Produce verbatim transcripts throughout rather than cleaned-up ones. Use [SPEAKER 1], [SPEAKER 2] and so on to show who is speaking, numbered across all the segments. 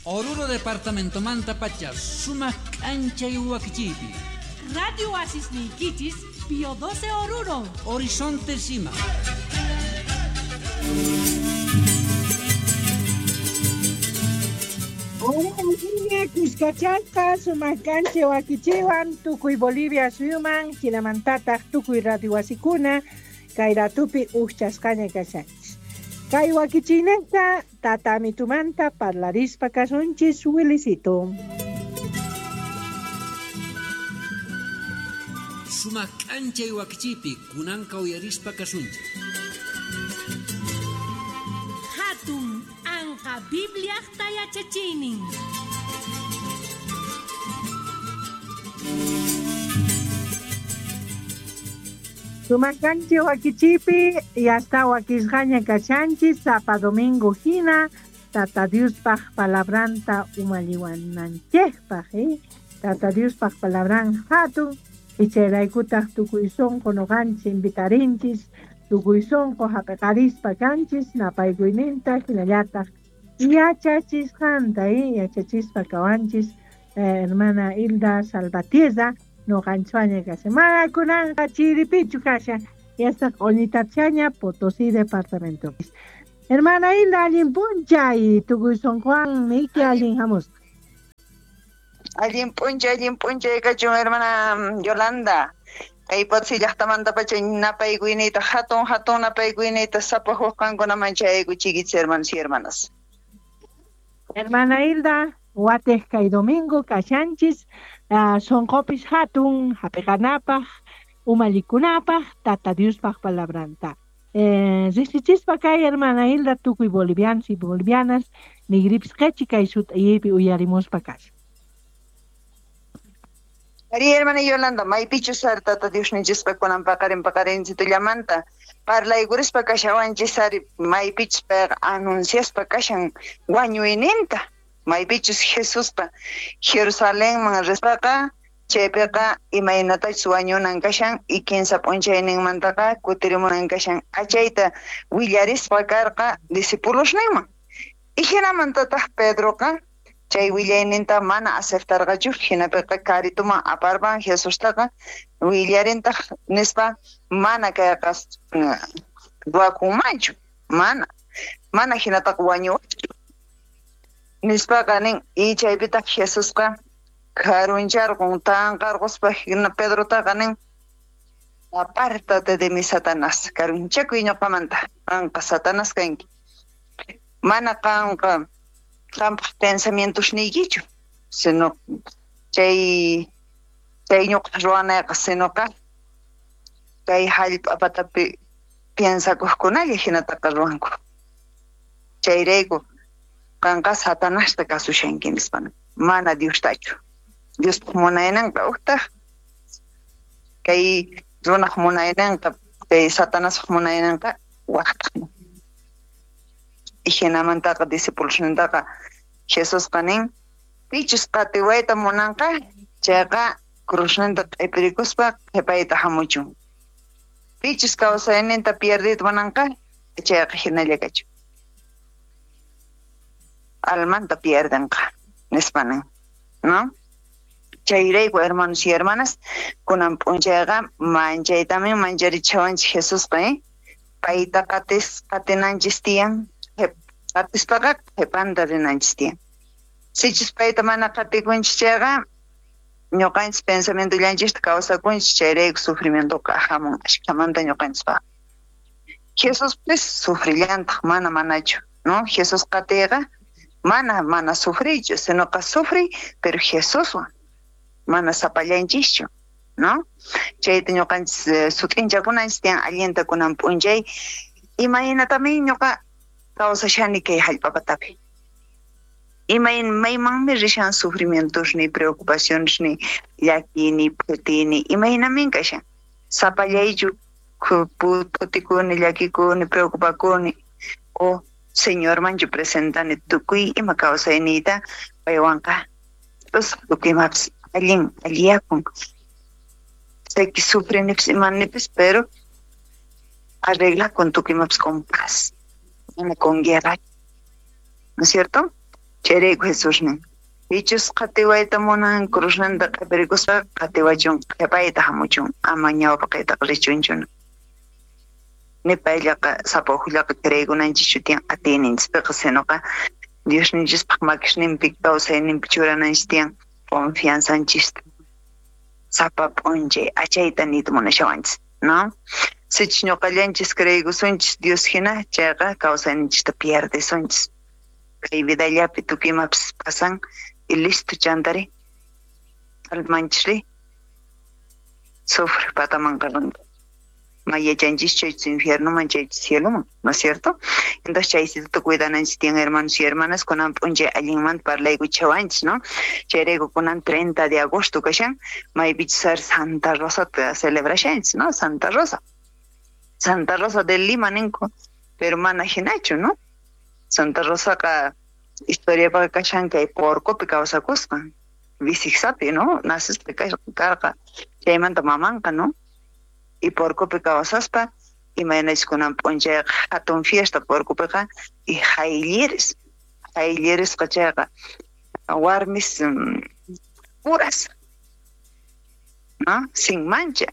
[SPEAKER 1] Oruro departamentomanta pacha sumaq k'anchay wakichiypi.
[SPEAKER 2] Radio Oasis niykichis, Pío doce Oruro.
[SPEAKER 1] Horizonte Sima.
[SPEAKER 3] Cuscachasqa sumaq k'anchay wakichiwan tukuy Bolivia suyuman hinamantataq tukuy radio wasikuna kay ratupi ujchasqaña kashanchis. Kay wakichiynejta tata amitumanta parlarispa kasunchis Wilisito.
[SPEAKER 1] Sumaq k'anchay wakichiypi kunanqa uyarispa kasunchis.
[SPEAKER 2] Hatun anqa Bibliaqta yachachiynin.
[SPEAKER 3] Sumaq k'anchay wakichiypi yasta wakisqaña kashanchis sapa domingo hina Tata Diospaq palabranta umalliwananchikpaq, eh? Tata Diospaq palabran hatun ichayraykutaq tukuy sunqu nuqanchis invitarinchis tukuy sunqu hap'iqarispa kanchis napaykuyninta hinallataq yachachisqanta, eh? Yachachispa kawanchis eh, hermana Hilda Salvatierra nuqanchwaña kashan. Mana kunanqa chiripichu kashan yasta q'uñitachaña Potosí departamento. Hermana Hilda, allin p'unchay tukuy sunquwan niyki allin hamusqa.
[SPEAKER 4] Allin p'unchay, allin p'unchay kachun hermana Yolanda. Kay Potosí llaqtamanta pacha napaykuyniyta hatun hatun napaykuyniyta sapa huk qankunaman chayaykuchiykichis hermanos y hermanas.
[SPEAKER 3] Hermana Hilda, watej kay domingo kashanchis uh, sunqupis hatun hap'iqanapaq umallikunapaq Tata Diospaq palabranta. Eh, riqsichispa kay hermana Hilda tukuy bolivianos y bolivianas nigripis qhichi kay sut'aypi uyarimuspa kashan.
[SPEAKER 4] Ari hermana Yolanda, maypichus ari Tata Diosninchispa kunan paqarin paqarinchitullamanta parlaykurispa kashawanchis ari maypichus payqa anunciaspa kashan wañuyninta, maypichus Jesuspa Jerusalenman rispaqa chaypiqa imaynatachus wañunan kashan y kinsa p'unchayninmantaqa kutirimunan kashan achayta willarispa karqa discipulosninman. Y hinamantataq Pedroqa chay willayninta mana aceptarqachu hinapiqa karituman aparpan Jesustaqa willarintaq nispa mana kayqa ruwakunmanchu mana mana hinataqa wañuwachu nispaqa nin y chaypitaq Jesusqa karuncharqun tanqarquspa hina Pedrotaqa nin apártate de mi Satanás karunchakuy ñuqamanta qanqa Satanás kanki mana qanqa qampaq pensamientosniykichu sino chay chay ñuqa ruwanayqa sinoqa kay hallp'a patapi piensakuqkunalla hinataqa ruwanku chayrayku qanqa Satanasta kasushanki nispa mana Diostachu Diospaq munayninqa uqtaq kay runaq munayninqa kay Satanaspaq munayninqa waqtaq. Y hinamantaqa discipulosnintaqa Jesusqa nin pichus qatiwayta munanqa chayqa cruzninta q'ipirikuspa qhipayta hamuchun pichus kawsayninta pierdiyta munanqa chayqa hinalla kachun almanta pierdenqa nispa nin, ¿no? Chayrayku hermanos y hermanas kunan p'unchayqa manchaytamin mancharichawanchik Jesusqa, eh? Payta qatis qatinanchis tiyan qatispaqa qhipanta rinanchis tiyan. Sichus payta mana qatikunchis chayqa ñuqanchis pensamientollanchista kawsakunchis chayrayku sufrimientoqa hamun ashkamanta ñuqanchispaq. Jesuspis sufrillantaq mana manachu, ¿no? Jesús qatiyqa mana mana sufriychu, sinoqa sufriy pero Jesuswan mana sapallanchischu, ¿no? Chayta ñuqanchis eh, sut'inchakunanchis tiyan allinta kunan p'unchay imaynatamin ñuqa kawsashani kay hallp'a patapi. Imayn maymanmi rishan sufrimientosniy, preocupacionesniy, llakiyniy, phutiyniy, imaynamin kashan. Sapallaychu phutikuni, llakikuni, preocupakuni o Señormanchu presentani tukuy ima kawsayniyta paywanqa tukuy imapis allin alliyakun. Sé que sufrinipis imanipis, pero arregla con tukuy imapis con paz, mana con guerra, ¿no es cierto? Chayrayku Jesús nin, pichus qatiwayta munan cruzninta q'ipirikuspa qatiwachun, qhipayta hamuchun, ama ñawpaqaytaqa richunchu. Ni payllaqa sapa ujllaqa creeykunanchischu tiyan atiyninchispiqa, sinoqa Diosninchispaq makisninpi kawsayninpi churananchis tiyan confianzanchista. Sapa p'unchay achayta niyta munashawanchis, ¿no? Sichus ñuqallanchis creeykusunchis Dios hina, chayqa kawsayninchista pierdesunchis. Kay vidallapi tukuy imapis pasan y listo chantari almanchisri sufre patamanqa rinqa. Mayachanchis chaychus infiernoman chaychus cieloman, ¿no es cierto? Entonces chaysituta cuidananchis tiyan hermanos y hermanas, kunan p'unchay allinmanta parlaykuchawanchis, ¿no? Chayrayku kunan treinta de agosto kashan, maypichus ar Santa Rosata celebrashanchis, ¿no? Santa Rosa. Santa Rosa de Lima ninku, pero mana hinachu, ¿no? Santa Rosaqa historiapaqa kashan kay Porcopi kawsakusqa, Visigsapi, ¿no? Nacispa karqa, chaymanta mamanqa, ¿no? Y Porcopi kawsaspa, imaynachus kunan p'unchayqa hatun fiesta Porcopiqa, y haylliris, hayllirisqa chayqa warmis puras, ¿no? Sin mancha.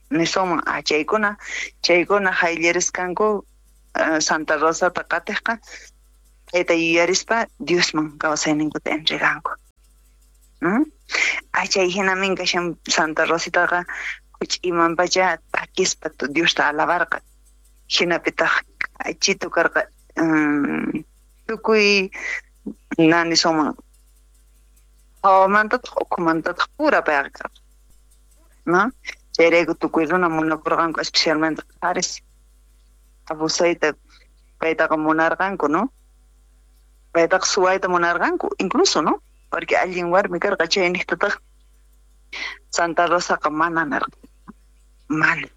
[SPEAKER 4] Nisunman, ah, chaykuna, chaykuna hayllirisqanku Santa Rosata qatiqqa, chayta yuyarispa Diosman kawsayninkuta entreganku. ¿No? Ah, chay hinamin kashan Santa Rositaqa imanpacha takispa Diosta alabarqa. Hinapitaq k'achitu karqa, tukuy nanisunman hawamantataq ukhumantataq pura payqa karqa, ¿no? Chayrayku tukuy runa munakurqanku, especialmente qharis abusayta paytaqa munarqanku, ¿no? Paytaqa suwayta munarqanku incluso, ¿no? Porque allin warmi karqa, chayniqtataq Santa Rosaqa mana nirqa. Mana,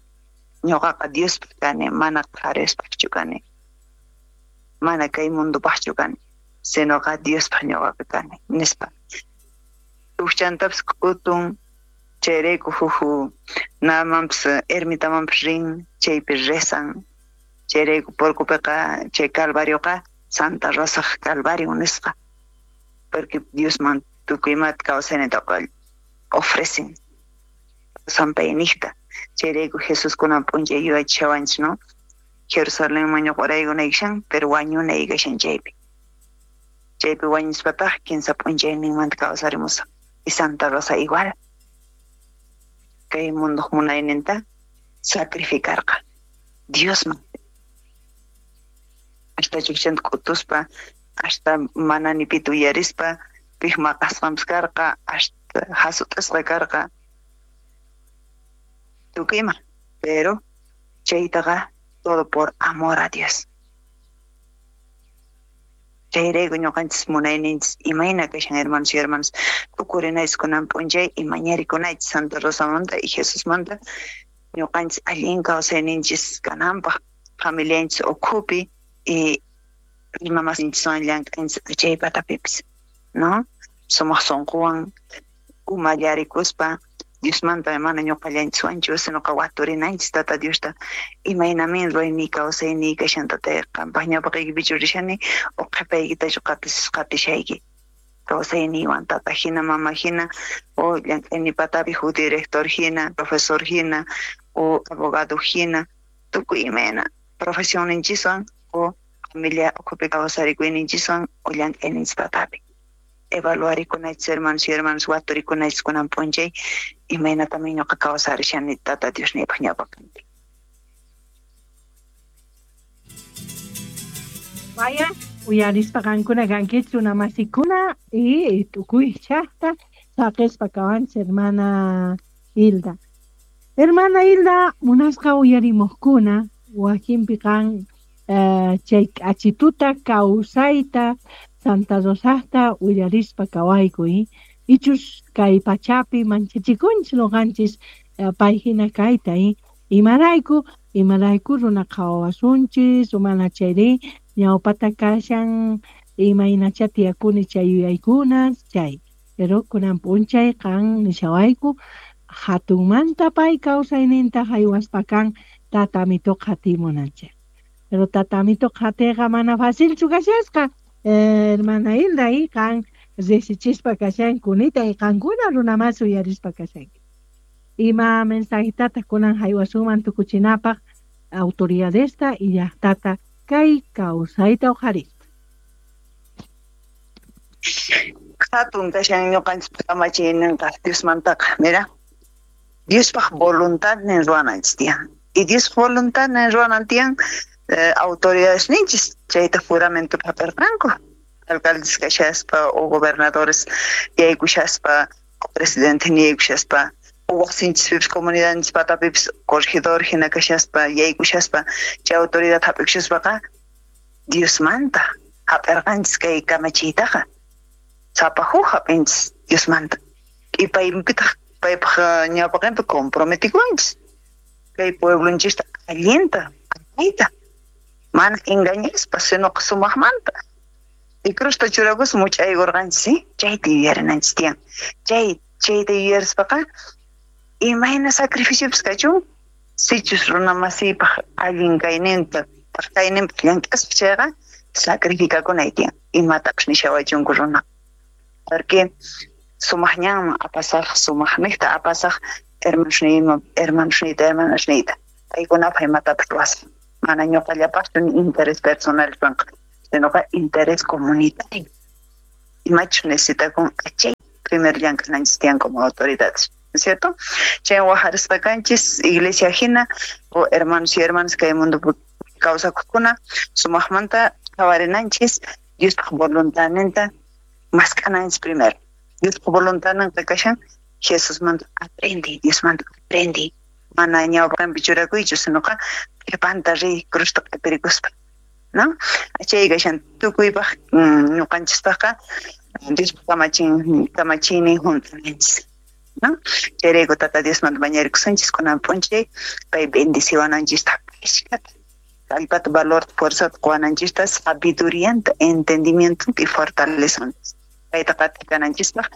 [SPEAKER 4] ñuqaqa Diospaq kani, mana qharispaqchu kani, mana kay mundopaqchu kani, sinoqa Diospaq ñuqaqa kani, nispa. Tukchantapis k'utun, chayrayku huk namanpis ermitamanpis rin, chaypi rezan, chayrayku Porcopiqa chay Calvarioqa Santa Rosaq Calvario nisqa, porque Diosman tukuy imata kawsaynintaqa ofrecen sampayniqta. Chayrayku Jesús kunan p'unchay yuyachishawanchis, ¿no? Jerusalenman ñuqaraykunaykishan, pero wañunaykashan chaypi. Chaypi wañuspataq kinsa p'unchayninmanta kawsarimusaq. Y Santa Rosa igual. Kay munduq munayninta sacrificarqa Diosman. Hasta chukchanta k'utuspa, hasta mana ni pita uyarispa, pij maqasqanpis karqa, hasta hasut'isqa karqa. Tukuy ima, pero chaytaqa todo por amor a Dios. Chayrayku ñuqanchis munayninchis imayna kashan hermanos y hermanas, tukurinaychis kunan p'unchay y mañarikunaychis Santa Rosamanta y Jesusmanta, ñuqanchis allin kawsayninchis kananpaq, familianchis ukhupi y runamasinchiswan llank'anchis chay patapipis, ¿no? Sumaq sunquwan umallarikuspa Diosmanta mana ñuqallanchiswanchu, sinoqa waturinanchis Tata Diosta, imaynamin ruwayniy kawsayniy kashan Tatay, qampaq ñawpaqaykipichu rishani o qhipaykitachu qatishayki kawsayniywan tata hina, mama hina, o llank'ayniy patapi huk director hina, profesor hina, o abogado hina, tukuy imayna profesionninchiswan o familia ukhupi kawsarikuyninchiswan o llank'ayninchis patapi. Evaluarikunaychis hermanos y hermanas, waturikunaychis kunan p'unchay imaynatamin ñuqa kawsarishani Tata Diosniypaq ñawpaqinpi.
[SPEAKER 3] Vaya, uyarispa qankuna kankichis runamasikuna y tukuy llaqta saqispa kawanchis hermana Hilda. Hermana Hilda, munasqa uyarimuqkuna wakinpi qan chay k'achituta kawsayta Santa Rosasta uyarispa kawayku, ichus kay pachapi manchachikunchis noqanchis pay hina kayta, imarayku imarayku runa qhawawasunchis mana chayri ñawpata kashan imaynacha tiyakuni chay yuyaykunas chay, pero kunan p'unchay qan nishawayku hatunmanta pay kawsayninta haywaspa kan tatamito qhatimunanchik. Pero tatamito qhatiqa mana facilchu kashasqa. Eh, hermana Hilda, y qan riqsichispa kashan kunita y qankuna runamas uyarispa kashanki. Ima mensajitataq kunan haywasuman tukuchinapaq autoridadesta y llaqtata kay kawsayta uqharispa.
[SPEAKER 4] Hatun kashan ñuqanchis kamachiyninqa Diosmantaqa, mira. Diospaq voluntadnin ruwananchis tiyan. Y Diospaq voluntadnin ruwanan tiyan eh, autoridades ninchis chayta juramento hap'irqanku. Alcaldes kashaspa o gobernadores yaykushaspa o presidente yaykushaspa o wasinchispipis comunidadninchis patapipis corregidor hina kashaspa yaykushaspa chay autoridad hap'ikushaspaqa Diosmanta hap'irqanchis kay kamachiytaqa. Sapa huk hap'inchis Diosmanta. Y paypitaq paypaq ñawpaqinpi comprometikunchis kay pueblonchista allinta allayta mana engañaspa sino sumaqmanta. Y crusta churakus much'aykurqanchis, ¿sí? Chayta yuyarinanchis tiyan. Chay chayta yuyarispaqa imayna sacrificiopis kachun sichus runa masiypaq allin kayninta kayninpaq llank'aspa chayqa sacrificakunay tiyan imatapis nishawachunku runa. Porque sumaq ñanman apasaq sumaqniqta apasaq hermanosniyman hermanosniyta hermanasniyta paykunapaq imatapis ruwasaq mana ñuqallapaqchu ni interés personal kanqa sinoqa interés comunitario. Imachus necesitakun chay primer llank'ananchis tiyan como autoridades, ¿no es cierto? Chay wajarisqa kanchis iglesia hina o hermanos y hermanas kay mundopi kawsakuqkuna sumaqmanta qhawarinanchis Diospaq voluntadninta mask'ananchis primero. Diospaq voluntadninqa kashan Jesusmanta aprendi, Diosmanta aprendi. Mana ñawpaqinpi churakuychu sinoqa qhipanta riy crusta q'ipirikuspa, ¿no? Chay kashan tukuypaq ñuqanchispaqqa Diospaq kamachin kamachiynin hunt'ananchis, ¿no? Chayrayku Tata Diosmanta mañarikusunchis kunan p'unchay pay bendiciwananchista ashkata kallpata valor fuerzata quwananchista sabidurianta entendimiento y fortalezanchis payta qatikananchispaq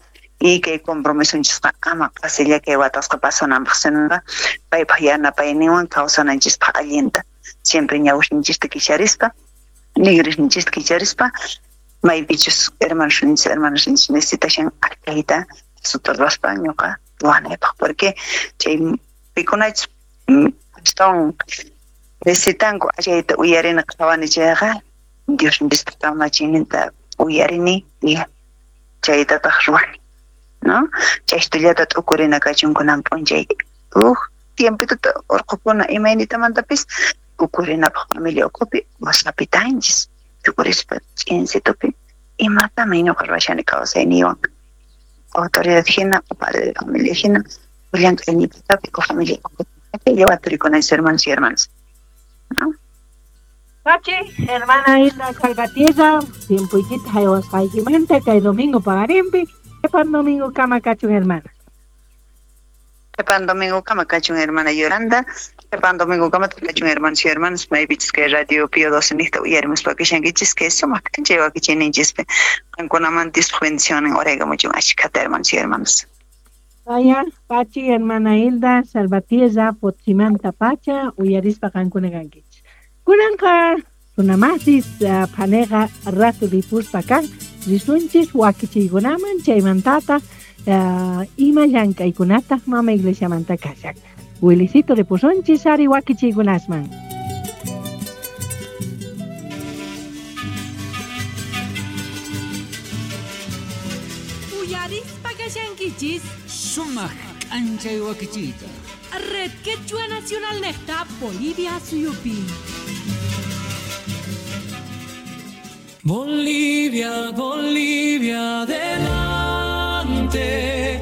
[SPEAKER 4] y kay compromisonchisqa ama qasilla kay watasqa pasananpaq sinoqa paypaq yanapayninwan kawsananchispaq allinta siempre ñawishninchista kicharispa nigrisninchista kicharispa maypichus hermanosninchis hermanasninchis necesitashan arkayta suta ruwaspa ñuqa ruwanaypaq porque chay pikunachis astawan necesitanku achayta uyarina qhawani chayqa Diosninchista kamachiyninta uyarini y chaytataq ruwani, ¿no? Chaystullata t'ukurina kachun kunan p'unchay uj tiempituta urqukuna imaynitamantapis ukurinapaq familia ukhupi wasapitanchis tukurispa ch'insitupi imatami ñuqa ruwashani kawsayniywan autoridad hina o padre de familia hina o llank'ayniypatapi o familia ukhupi waturikunanchis hermanos y hermanas, ¿no?
[SPEAKER 3] Pachi, hermana Hilda Salvatierra, tiempoykita haywasqaykimanta kay domingo paqarinpi. Qhipan domingo kama kachun hermana.
[SPEAKER 4] Qhipan domingo kama kachun hermana Yolanda. Qhipan domingo kama kachun hermanos y hermanas maypichis kay radio Pío doce niqta uyarimuspa kashankichis kay sumaq k'anchay wakichiyninchispi qankunaman Diospaq bendicionnin uraykamuchun ashkhata hermanos y hermanas.
[SPEAKER 3] Vaya, Pachi, hermana Hilda Salvatierra, Potsimanta pacha, uyarispa qankuna kankichis. Kunanqa runamasis uh, phaneqa ratu ripuspa kan risunchis wakichiykunaman chaymantataq uh, ima llank'aykunataq mama iglesiamanta kashan. Wilisito ripusunchis ari wakichiykunasman.
[SPEAKER 2] Uyarispa kashankichis
[SPEAKER 1] Sumaq k'anchay wakichiyta.
[SPEAKER 2] Red Quechua Nacional Necta Bolivia Suyupi.
[SPEAKER 5] Bolivia, Bolivia, adelante.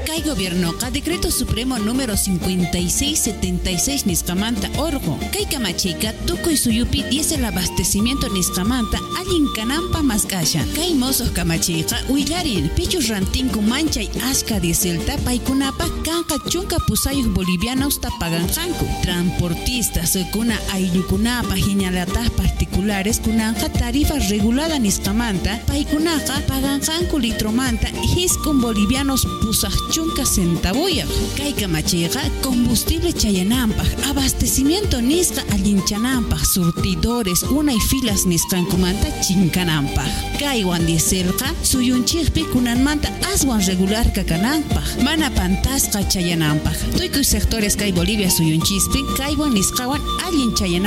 [SPEAKER 6] Kay gobiernoqa Decreto Supremo número cincuenta y seis setenta y seis nisqamanta orqo. Kay kamachiyqa tukuy suyupi diésel abastecimiento nisqamanta allin kananpa mask'ashan. Kay mosoq kamachiyqa willarin pichus rantinku manchay ashka dieselta paykunapaq kanqa chunka pusayuq bolivianos paganqanku. Transportistas kuna ayllukunapaq hinallataq particulares kunanqa tarifa regulada nisqamanta paykunaqa paganqanku litromanta hiskun bolivianos pusaq chunka chunka centavoyaq. Kay kamachiyqa combustible chayananpaq, abastecimiento nisqa allinchananpaq, surtidores unay filas nisqankumanta chinkananpaq. Kaywan dieselqa suyunchikpi kunanmanta aswan regular kananpaq, mana pantasqa chayananpaq. Tukuy sectores kay Bolivia suyunchispi kaywan nisqawan allin chayananpaq.